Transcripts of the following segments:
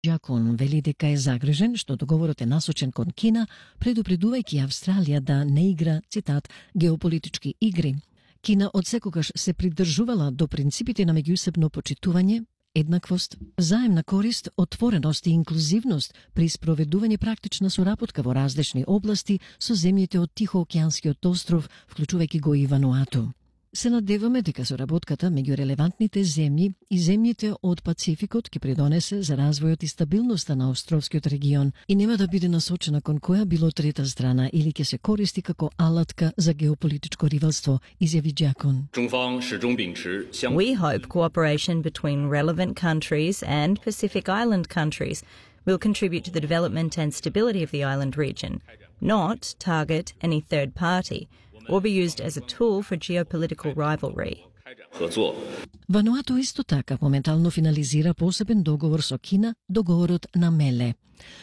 Джакон вели дека е загрижен што договорот е насочен кон Кина, предупредувајќи Австралија да не игра, цитат, геополитички игри. Кина одсекогаш се придржувала до принципите на меѓусебно почитување, еднаквост, взаемна корист, отвореност и инклузивност при спроведување практична соработка во различни области со земјите од Тихоокеанскиот остров, вклучувајќи го и Вануату. Се надеваме дека соработката меѓу релевантните земји и земјите од Пацификот ќе придонесе за развојот и стабилноста на островскиот регион и нема да биде насочена кон која било трета страна или ќе се користи како алатка за геополитичко ривалство, изјави Джакон. We hope cooperation between relevant countries and Pacific Island countries will contribute to the development and stability of the island region, not target any third party or be used as a tool for geopolitical rivalry. Вануату исто така моментално финализира посебен договор со Кина, договорот на Меле.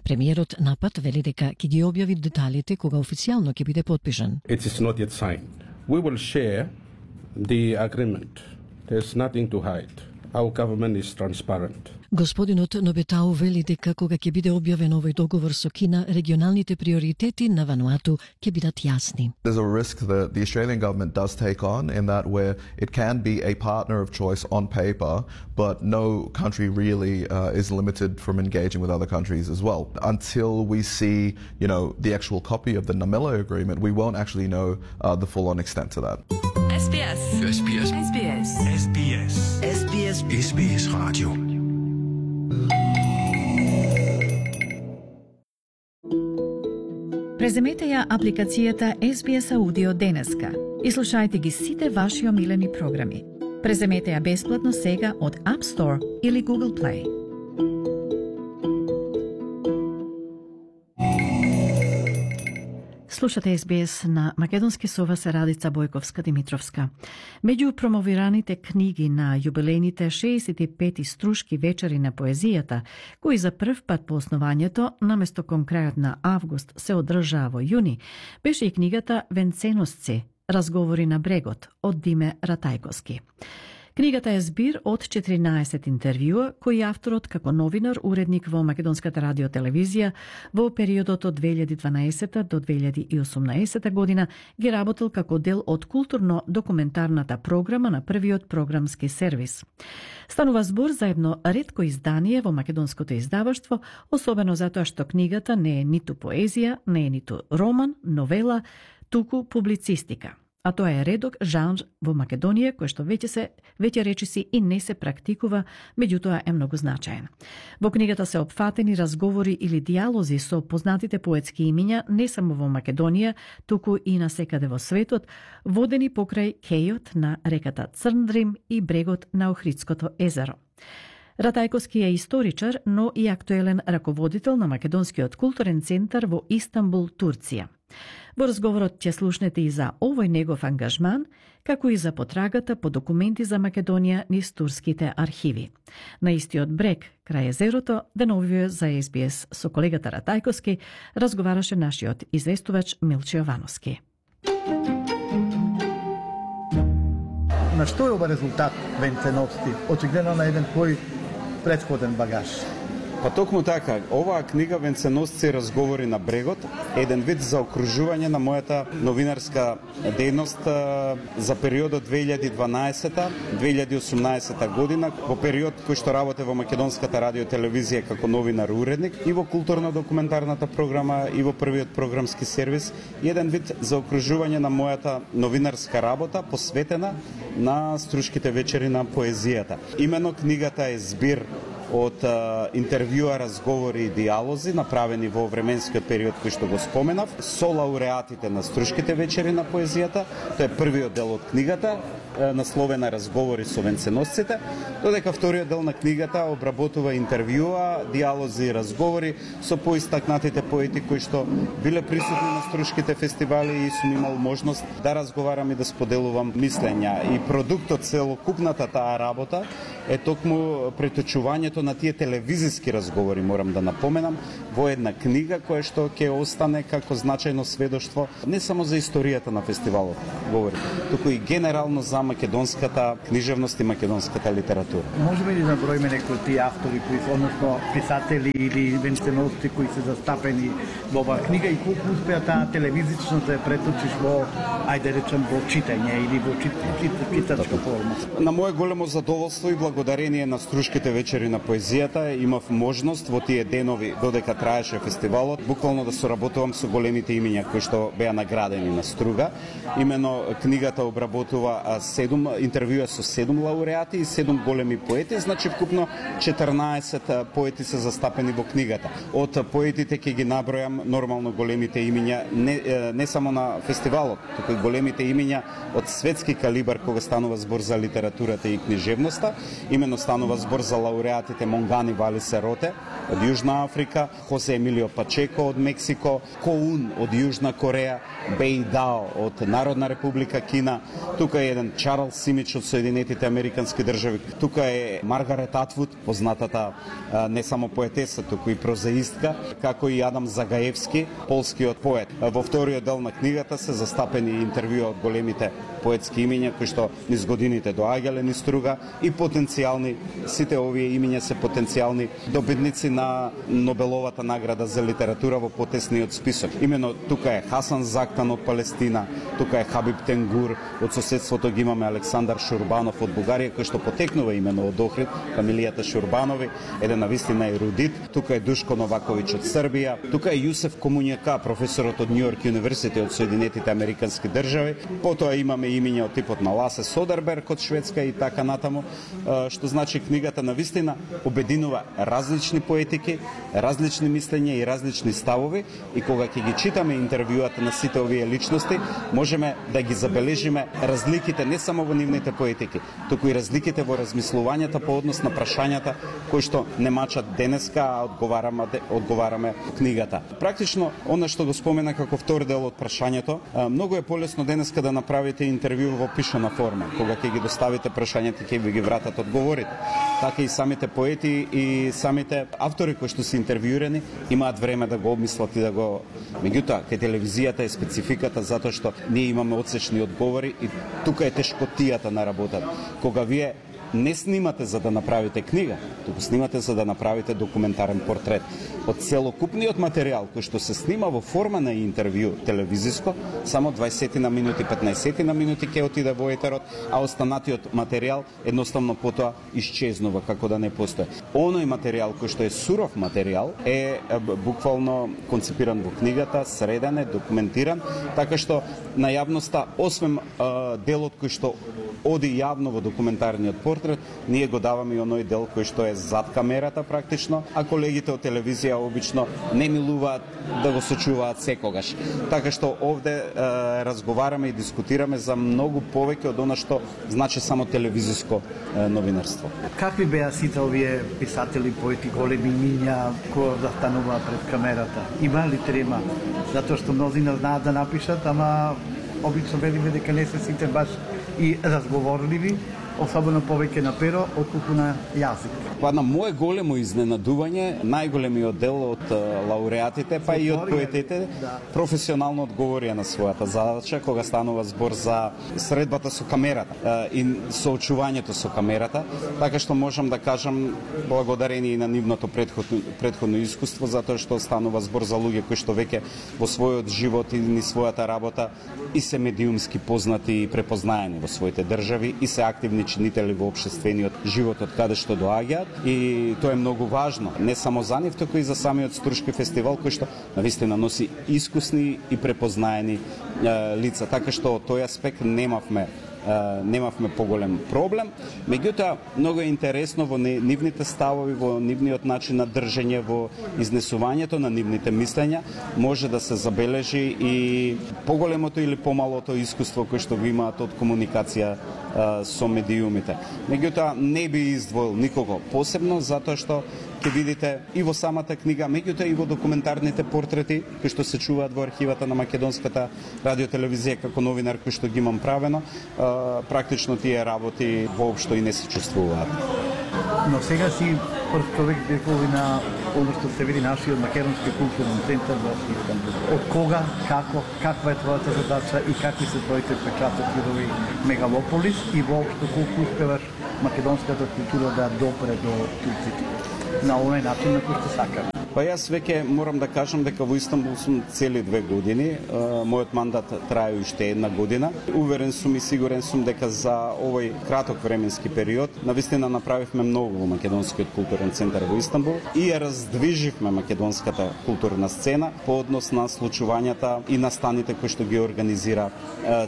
Премиерот напад вели дека ќе ги објави деталите кога официјално ќе биде потпишан. It is not yet signed. We will share the agreement. There's nothing to hide. Our government is transparent. Господинот Нобетау вели дека кога ќе биде објавен овој договор со Кина, регионалните приоритети на Вануату ќе бидат јасни. There's a risk that the Australian government does take on in that where it can be a partner of choice on paper, but no country really is limited from engaging with other countries as well. Until we see, the actual copy of the Namela agreement, we won't actually know the full-on extent to that. SBS. SBS. SBS. SBS. SBS. SBS Radio. Преземете ја апликацијата SBS Audio денеска и слушајте ги сите ваши омилени програми. Преземете ја бесплатно сега од App Store или Google Play. Слушате SBS на македонски со вас Радица Бојковска-Димитровска. Меѓу промовираните книги на јубилејните 65 струшки вечери на поезијата, кои за прв пат по основањето, наместо кон крајот на август, се одржаа во јуни, беше и книгата Венценосци, разговори на брегот, од Диме Ратајковски. Книгата е збир од 14 интервјуа кои авторот како новинар, уредник во Македонската радиотелевизија во периодот од 2012 до 2018 година ги работел како дел од културно-документарната програма на првиот програмски сервис. Станува збор за едно ретко издание во македонското издаваштво, особено затоа што книгата не е ниту поезија, не е ниту роман, новела, туку публицистика. А тоа е редок жанр во Македонија кој што веќе речиси и не се практикува, меѓутоа е многу значаен. Во книгата се опфатени разговори или диалози со познатите поетски имиња не само во Македонија, туку и насекаде во светот, водени покрај кејот на реката Црндрим и брегот на Охридското езеро. Ратајковски е историчар, но и актуелен раководител на Македонскиот културен центар во Истанбул, Турција. Во разговорот ќе слушнете и за овој негов ангажман, како и за потрагата по документи за Македонија низ турските архиви. На истиот брег, крај езерото, деновиве за SBS со колегата Ратајковски разговараше нашиот известувач Милче Јовановски. На што е ова резултат Венценовци, очигледно на еден твој претходен багаж? Па токму така, оваа книга Венценосци разговори на брегот, еден вид за окружување на мојата новинарска дејност за периодот 2012-2018 година, во период кој што работе во Македонската радиотелевизија како новинар уредник и во културно-документарната програма и во првиот програмски сервис, еден вид за окружување на мојата новинарска работа посветена на струшките вечери на поезијата. Имено книгата е збир од интервјуа, разговори и диалози направени во временскиот период кој што го споменав со лауреатите на струшките вечери на поезијата. Тоа е првиот дел од книгата, насловена Разговори со венценосците, додека вториот дел на книгата обработува интервјуа, диалози и разговори со поистакнатите поети кои што биле присутни на струшките фестивали и сум имал можност да разговарам и да споделувам мислења. И продуктот, целокупната таа работа е токму преточувањето на тие телевизиски разговори, морам да напоменам, во една книга која што ќе остане како значајно сведоштво не само за историјата на фестивалот, говори, туку и генерално за македонската книжевност и македонската литература. Можеме ли да броиме некои тие автори, односно писатели или венцености кои се застапени во оваа книга и колку успеа таа телевизично да ја преточиш во, ајде речем, во читање или во читачка форма? На мое големо задоволство и благодарение на Струшките вечери на поезијата имав можност во тие денови додека траеше фестивалот буквално да соработувам со големите имиња кои што беа наградени на Струга. Имено книгата обработува 7 интервјуа со 7 лауреати и 7 големи поети, значи вкупно 14 поети се застапени во книгата. Од поетите ќе ги набројам нормално големите имиња не само на фестивалот, туку и големите имиња од светски калибар кога станува збор за литературата и книжевноста. Имено станува збор за лауреатите Монгани Вали Сероте од Јужна Африка, Хосе Емилио Пачеко од Мексико, Коун од Јужна Кореја, Беј Дао од Народна република Кина, тука е еден Чарлс Симич од Соединетите Американски држави, тука е Маргарет Атвуд, познатата не само поетеса, туку и прозаистка, како и Адам Загаевски, полскиот поет. Во вториот дел на книгата се застапени интервјуа од големите поетски имиња кои што низ годините доаѓале низ Струга и потенцијални, сите овие имиња се потенцијални добитници на Нобеловата награда за литература во потесниот список. Имено тука е Хасан Зактан од Палестина, тука е Хабиб Тенгур, од соседството ги имаме Александар Шурбанов од Бугарија, кој што потекнува имено од Охрид, фамилијата Шурбанови, еден навистина ерудит, тука е Душко Новаковиќ од Србија, тука е Јусеф Комуњака, професорот од Нью Йорк Университет од Соединетите Американски држави, потоа имаме имиња од типот на Ласе Содерберг од Шведска и така натаму, што значи книгата навистина обединува различни поетики, различни мислења и различни ставови и кога ќе ги читаме интервјуата на сите овие личности, можеме да ги забележиме разликите не само во нивните поетики, туку и разликите во размислувањата по однос на прашањата кои што не мачат денеска, а одговараме книгата. Практично, она што го спомена како втор дел од прашањето, многу е полесно денеска да направите интервју во пишана форма, кога ќе ги доставите прашањата, ќе ви ги вратат одговорите. Така и самите поети и самите автори кои што се интервјуирани имаат време да го обмислат и да го... Меѓутоа, кај телевизијата е спецификата затоа што ние имаме одсечни одговори и тука е тешкотијата на работата. Кога вие не снимате за да направите книга, туку снимате за да направите документарен портрет. Од целокупниот материјал кој што се снима во форма на интервју телевизиско, само 20 на минути, 15 на минути ќе отиде во етерот, а останатиот материјал едноставно потоа исчезнува како да не постои. Оној материјал кој што е суров материјал е буквално концепиран во книгата, среден е, документиран, така што на јавноста, освен делот кој што оди јавно во документарниот портрет, ние го даваме и оној дел кој што е зад камерата практично, а колегите од телевизија обично не милуваат да го сочуваат секогаш. Така што овде разговараме и дискутираме за многу повеќе од она што значи само телевизиско новинарство. Какви беа сите овие писатели, поети, големи имиња кои застануваат пред камерата? Има ли трема? Затоа што мнозина знаат да напишат, ама обично велиме дека не се сите баш и разговорливи, особено повеќе на перо, отколку на јазик. Па на мое големо изненадување, најголемиот дел од лауреатите, па и од поетите, професионално одговорија на својата задача, кога станува збор за средбата со камерата и соочувањето со камерата, така што можам да кажам благодарение на нивното претходно искуство, затоа што станува збор за луѓе кои што веќе во својот живот и ни својата работа и се медиумски познати и препознаени во своите држави и се активни чинители во општествениот живот од каде што доаѓаат и тоа е многу важно, не само за нив, туку и за самиот Струшки фестивал кој што навистина носи искусни и препознаени лица, така што од тој аспект немавме поголем проблем. Меѓутоа, многу е интересно во нивните ставови, во нивниот начин на држење, во изнесувањето на нивните мислења, може да се забележи и поголемото или помалото искуство кој што го имаат од комуникација со медиумите. Меѓутоа, не би издвоил никого посебно, затоа што ќе видите и во самата книга, меѓутоа и во документарните портрети кои што се чуваат во архивата на Македонската радиотелевизија како новинар кој што ги имам правено, практично тие работи воопшто и не се чувствуваат. Но сега си прв човек декови на оно што се види нашиот македонски културен центар во Истанбул. Од кога, како, каква е твојата задача и какви се твоите впечатоци во овој мегалополис и воопшто колку успеваш македонската култура да допре до турците на оној начин на кој што сакаме. Па јас веќе морам да кажам дека во Истанбул сум цели 2 години. Мојот мандат трае уште 1 година. Уверен сум и сигурен сум дека за овој краток временски период навистина направивме многу во Македонскиот културен центар во Истанбул и ја раздвиживме македонската културна сцена по однос на случувањата и настаните кои што ги организира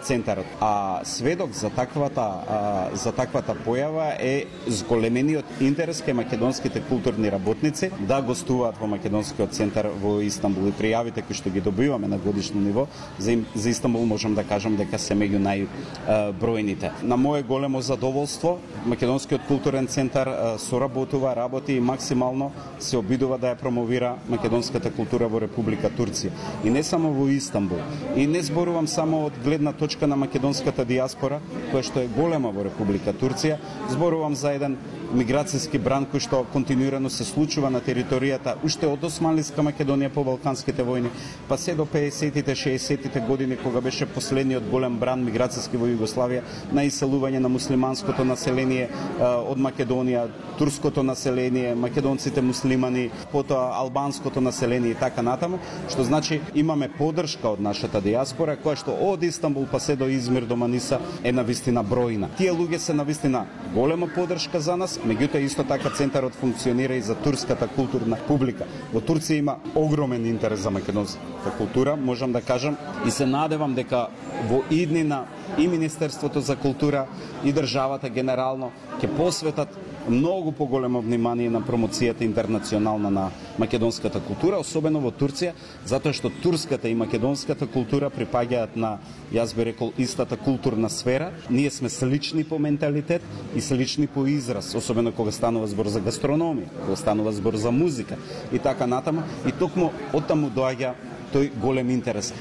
центарот. А сведок за таквата појава е зголемениот интерес кај македонските културни работници да гостуваат во Македонскиот центар во Истанбул и пријавите кои што ги добиваме на годишно ниво за Истанбул можам да кажам дека се меѓу најбројните. На мое големо задоволство Македонскиот културен центар работи и максимално се обидува да ја промовира македонската култура во Република Турција. И не само во Истанбул. И не зборувам само од гледна точка на македонската диаспора, која што е голема во Република Турција, зборувам за еден миграцијски бран кој што континуирано се случува на територијата уште од Османлиска Македонија по Балканските војни, па се до 50-тите, 60-тите години кога беше последниот голем бран миграцијски во Југославија на иселување на муслиманското население од Македонија, турското население, македонците муслимани, потоа албанското население и така натаму, што значи имаме поддршка од нашата диаспора која што од Истанбул па се до Измир до Маниса е навистина бројна. Тие луѓе се навистина голема поддршка за нас. Меѓутоа исто така центарот функционира и за турската културна публика. Во Турција има огромен интерес за македонската култура, можам да кажам, и се надевам дека во иднина и Министерството за култура и државата генерално ќе посветат многу поголемо внимание на промоцијата интернационална на македонската култура, особено во Турција, затоа што турската и македонската култура припаѓаат на, јас би рекол, истата културна сфера. Ние сме слични по менталитет и слични по израз, особено кога станува збор за гастрономија, кога станува збор за музика и така натаму. И токму оттаму доаѓа тој голем интерес.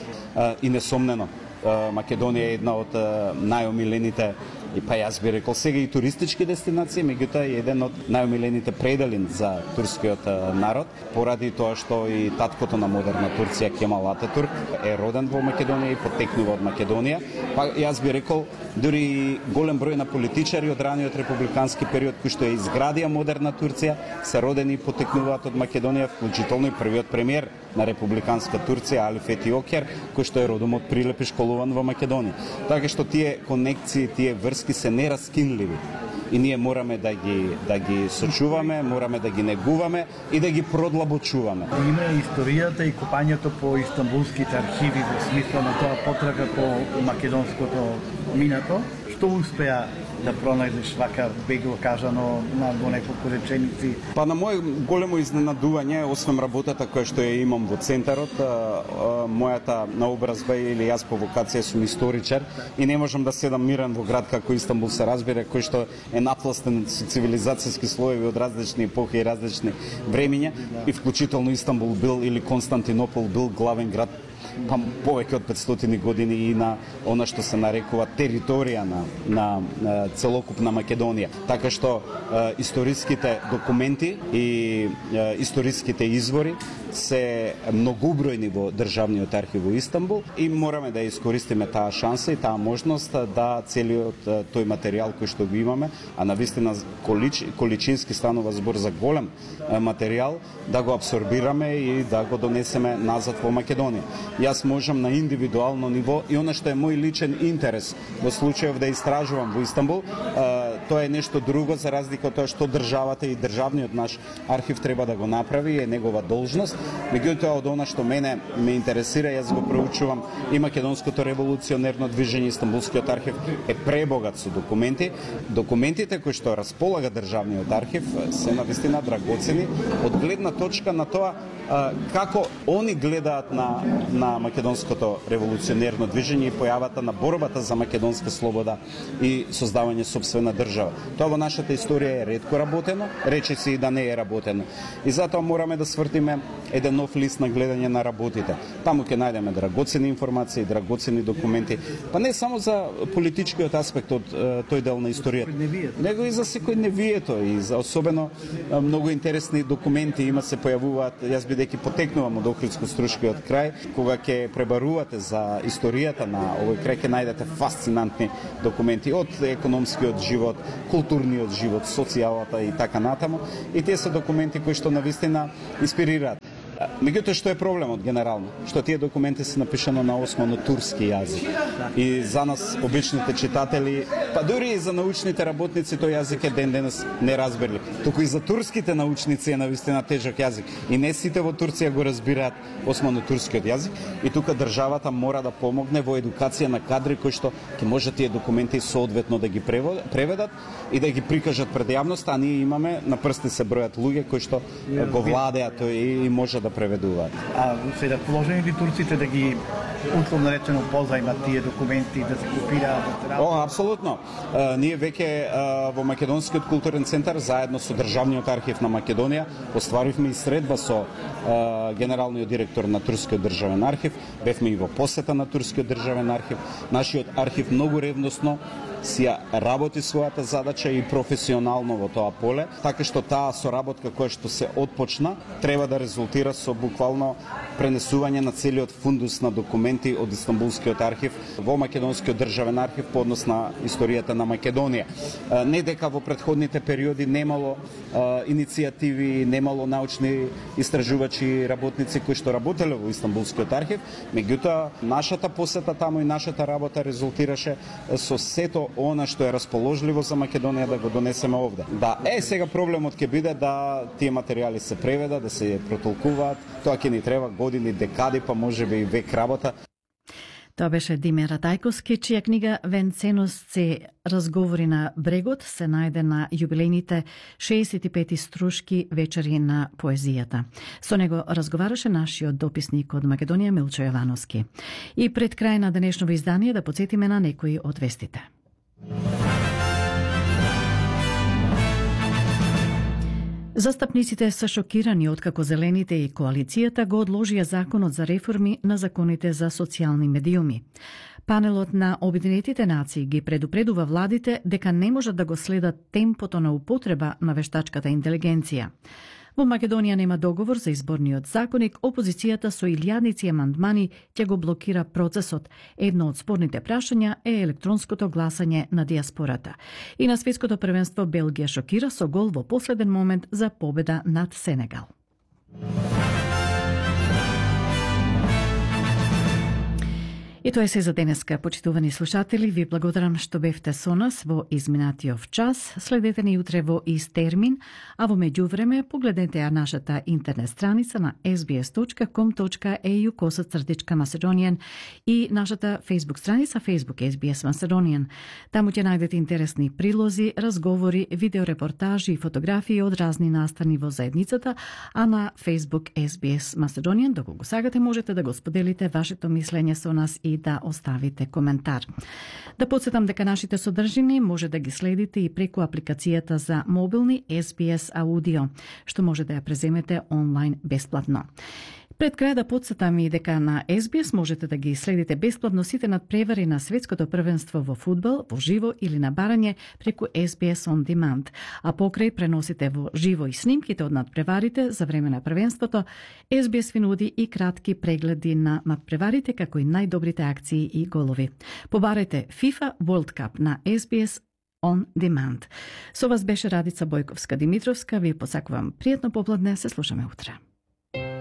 И несомнено, Македонија е една од најомилените, и па јас би рекол сега и туристички дестинации, меѓутоа е еден од најомилените предели за турскиот народ, поради тоа што и таткото на модерна Турција, Кемал Ататурк, е роден во Македонија и потекнува од Македонија. Па јас би рекол дури голем број на политичари од раниот републикански период кои што ја изградија модерна Турција се родени и потекнуваат од Македонија, вклучително и првиот премиер на републиканска Турција Али Фети Окер, кој што е родом од Прилеп и школуван во Македонија. Така што тие конекции, тие врски се нераскинливи. И ние мораме да ги сочуваме, мораме да ги негуваме и да ги продлабочуваме. Има историјата и копањето по истанбулските архиви во смисла на тоа потрага по македонското минато. Што успеа да пронајдеш вака бегло кажано во неколку реченици? Па на моје големо изненадување, освен работата која што ја имам во центарот, мојата наобразба или јас по вокација сум историчар и не можам да седам мирен во град како Истанбул, се разбира, кој што е напластен со цивилизацијски слоеви од различни епохи и различни времиња, и вклучително Истанбул бил или Константинопол бил главен град па повеќе од 500 години и на она што се нарекува територија на целокупна Македонија. Така што историските документи и историските извори се многубројни во државниот архив во Истанбул и мораме да искористиме таа шанса и таа можност да целиот тој материјал кој што го имаме, а навистина количински станува збор за голем материјал, да го абсорбираме и да го донесеме назад во Македонија. Јас можам на индивидуално ниво и она што е мој личен интерес во случајов да истражувам во Истанбул, тоа е нешто друго за разлика од тоа што државата и државниот наш архив треба да го направи, е негова должност. Меѓутоа од она што мене ме интересира, јас го проучувам и македонското револуционерно движење, Истанбулскиот архив е пребогат со документи. Документите кои што располага државниот архив се навистина драгоцени од гледна точка на тоа како они гледаат на македонското револуционерно движење и појавата на борбата за македонска слобода и создавање сопствена држава. Тоа во нашата историја е ретко работено, речиси и да не е работено. И затоа мораме да свртиме еден нов лист на гледање на работите. Таму ќе најдеме драгоцени информации, драгоцени документи, па не само за политичкиот аспект од тој дел на историјата, него и за секој невието и за особено многу интересни документи има се појавуваат. Јас бидејќи потекнувам од Охридско-Струшкиот крај, кога ќе пребарувате за историјата на овој крај ќе најдете фасцинантни документи од економскиот живот, културниот живот, социјалата и така натаму. И тие се документи кои што навистина инспирираат. Меѓутоа, што е проблемот генерално? Што тие документи се напишано на османо-турски јазик. И за нас, обичните читатели, па дури и за научните работници, тој јазик е ден-денес неразберлив. Туку и за турските научници е навистина тежок јазик. И не сите во Турција го разбираат османо-турскиот јазик. И тука државата мора да помогне во едукација на кадри кои што ќе може тие документи соодветно да ги преведат и да ги прикажат пред јавноста, а ние имаме на прсти се бројат луѓе кои што го владеат и може да преведуваат. А се расположени ли турците да ги условно речено позајмат тие документи, да се копираат? Апсолутно. Ние веќе во Македонскиот културен центар заедно со Државниот архив на Македонија остваривме и средба со генералниот директор на Турскиот државен архив, бевме и во посета на Турскиот државен архив. Нашиот архив многу ревносно си ја работи својата задача и професионално во тоа поле, така што таа соработка која што се отпочна треба да резултира со буквално пренесување на целиот фундус на документи од Истанбулскиот архив во Македонскиот државен архив по однос на историјата на Македонија. Не дека во претходните периоди немало иницијативи, немало научни истражувачи, работници кои што работеле во Истанбулскиот архив, меѓутоа нашата посета таму и нашата работа резултираше со сето она што е расположливо за Македонија да го донесеме овде. Да, сега проблемот ќе биде да тие материјали се преведат, да се протолкуваат. Тоа ќе ни треба години, декади, па можеби и век работа. Тоа беше Диме Радајковски, чија книга Венценост се разговори на брегот се најде на јубилејните 65 струшки вечери на поезијата. Со него разговараше нашиот дописник од Македонија Милчо Јовановски. И пред крај на денешново издание да подсетиме на некои од вестите. Застапниците се шокирани откако Зелените и коалицијата го одложија законот за реформи на законите за социјални медиуми. Панелот на Обединетите нации ги предупредува владите дека не можат да го следат темпото на употреба на вештачката интелигенција. Во Македонија нема договор за изборниот законник, опозицијата со илјадници амандмани ќе го блокира процесот. Едно од спорните прашања е електронското гласање на диаспората. И на светското првенство Белгија шокира со гол во последен момент за победа над Сенегал. И тоа е се за денеска, почитувани слушатели. Ви благодарам што бевте со нас во изминатиот час. Следете ни утре во ист термин, а во меѓувреме погледнете ја нашата интернет страница на sbs.com.au/Macedonian и нашата Facebook страница Facebook SBS Macedonian. Таму ќе најдете интересни прилози, разговори, видеорепортажи и фотографии од разни настани во заедницата, а на Facebook SBS Macedonian, доколку сакате, можете да го споделите вашето мислење со нас и да оставите коментар. Да подсетам дека нашите содржини може да ги следите и преку апликацијата за мобилни SBS Audio, што може да ја преземете онлайн бесплатно. Пред крај да подсетам и дека на SBS можете да ги следите бесплатно сите надпревари на светското првенство во фудбал, во живо или на барање преку SBS On Demand. А покрај преносите во живо и снимките од надпреварите за време на првенството, SBS ви нуди и кратки прегледи на надпреварите како и најдобрите акции и голови. Побарете FIFA World Cup на SBS On Demand. Со вас беше Радица Бојковска-Димитровска. Ви посакувам пријатно попладне, се слушаме утре.